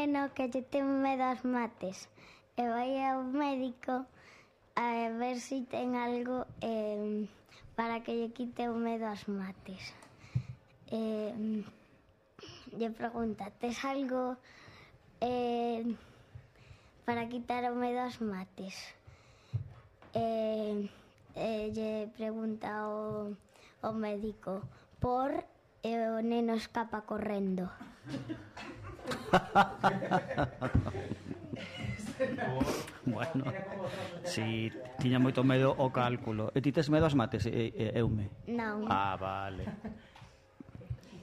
neno que lle ten medo ás mates e vai ao médico a ver se ten algo para que lle quite o medo ás mates. Lle pregunta, tes algo para quitar o medo ás mates? Lle pregunta o médico e o neno escapa correndo. Bueno, si tiña moito medo ao cálculo. E ti tes medo ás mates, Eume? Non. Ah, vale.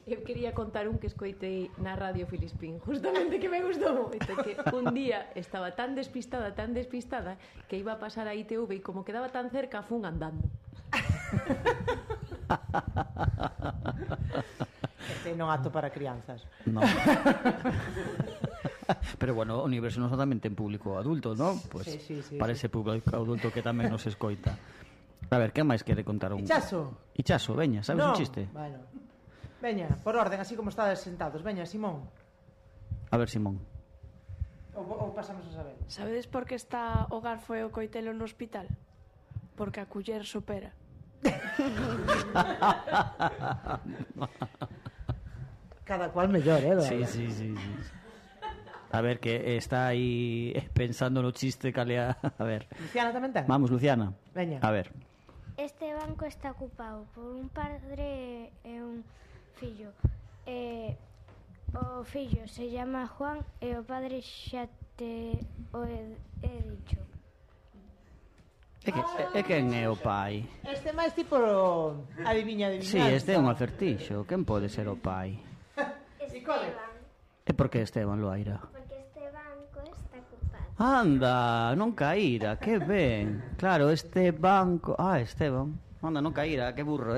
Eu quería contar un que escoitei na Radio Filispín, justamente, que me gustou moito, que un día estaba tan despistada, que iba a pasar a ITV e como quedaba tan cerca, fun andando. Este non apto para crianzas. No. Pero bueno, o Universo non solamente en público adulto, ¿no? Pues sí, para ese público adulto que tamén nos escoita. A ver, que máis quere contar un... Ichazo, veña, sabes un chiste? Bueno. Veña, por orden, así como estades sentados. Veña, Simón. A ver, Simón. Ou pasamos a saber. Sabedes por que está o garfo e o coitelo no hospital? Porque a culler supera. Cada cual mellor, Sí. A ver, que está aí pensando no chiste calea. A ver. Luciana tamén ten? Vamos, Luciana. Veña. A ver. Este banco está ocupado por un padre e un fillo. O fillo se llama Juan e o padre xa te o he dicho. E quen é o pai? Este máis tipo adivinha. Sí, este é un acertixo. Quen pode ser o pai? Esteban. E por que Esteban, Loaira? Porque este banco está ocupado. Anda, non caíra, que ben. Claro, este banco... Ah, Esteban. Anda, non caíra, que burro,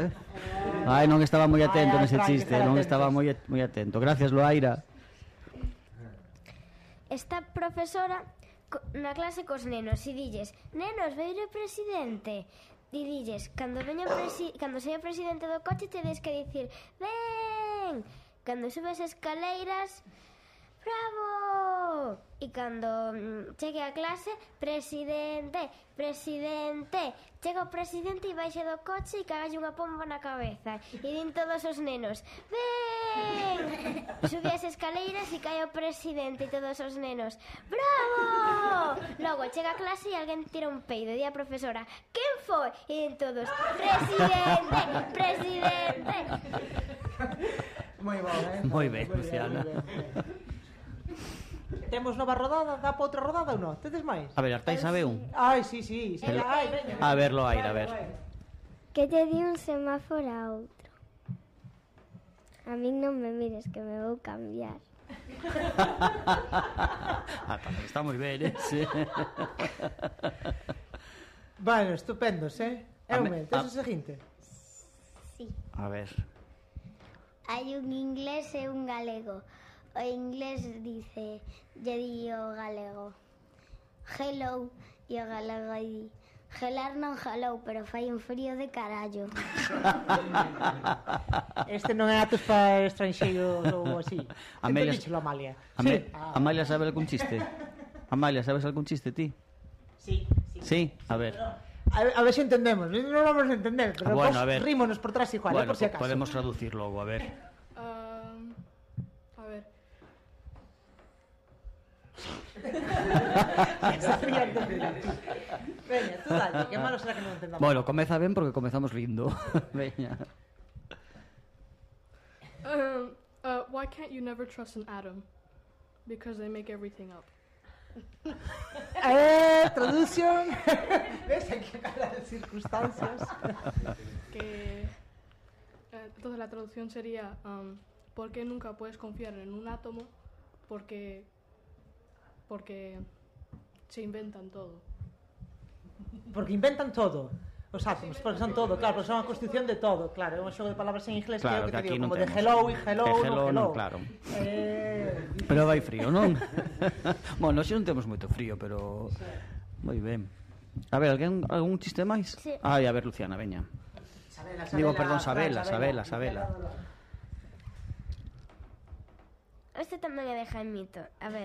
Ai, non estaba moi atento nese chiste. Non estaba moi atento. Gracias, Loaira. Esta profesora na clase cos nenos e dilles: nenos, veire o presidente. E dilles: cando seña presidente do coche tedes que dicir: ven. Cando subes escaleiras, bravo! E cando chegue a clase, presidente. Chega o presidente e baixa do coche e cagalle unha pomba na cabeza. E din todos os nenos: ven! Sube as escaleiras e cae o presidente e todos os nenos: bravo! Logo chega a clase e alguén tira un peido e di a profesora: quen foi? E din todos: presidente! Moi bon, Moi ben, Luciana. Temos nova rodada, dá para outra rodada ou non? Tedes máis? A ver, Artai sabe un. Ai, sí. Ai, veña. A ver, Loaira, a ver. Que te di un semáforo a outro. A min non me mires que me vou cambiar. Tamén está moi ben, sí. Bueno, estupendos, Eume, tes o seguinte? Sí. A ver. Hai un inglés e un galego. O inglés lle di o galego: hello, e o galego di: gelar non jalou, pero fai un frío de carallo. Este non é atos para estranxeiros ou así. Amelia, Amalia. Amalia sabe algún chiste? Amalia, sabes algún chiste ti? Sí. Sí, a ver. A ver se entendemos. Non vamos a entender, pero bueno, a ver. rímonos por atrás igual, Bueno, por si acaso. podemos traducir logo, a ver. A ver. Veña, tú dale, que malo será que non entendamos. Bueno, comeza ben porque comezamos rindo. Veña. Why can't you never trust an atom? Because they make everything up. Traducción. Ves aquí a las circunstancias. Entonces la traducción sería ¿por qué nunca puedes confiar en un átomo? Porque se inventan todo. Porque inventan todo. Os átomos, porque son todo, claro, porque son a constitución de todo, claro, é un xogo de palabras en inglés Claro, que, que aquí digo, non como de temos. hello e hello, non, claro. Pero vai frío, non? Bueno, xe non temos moito frío, pero moi ben. A ver, algún chiste máis? Sí. Ai, a ver, Luciana, veña. Digo, perdón, Sabela. Este tamén é de Jaimito. A ver,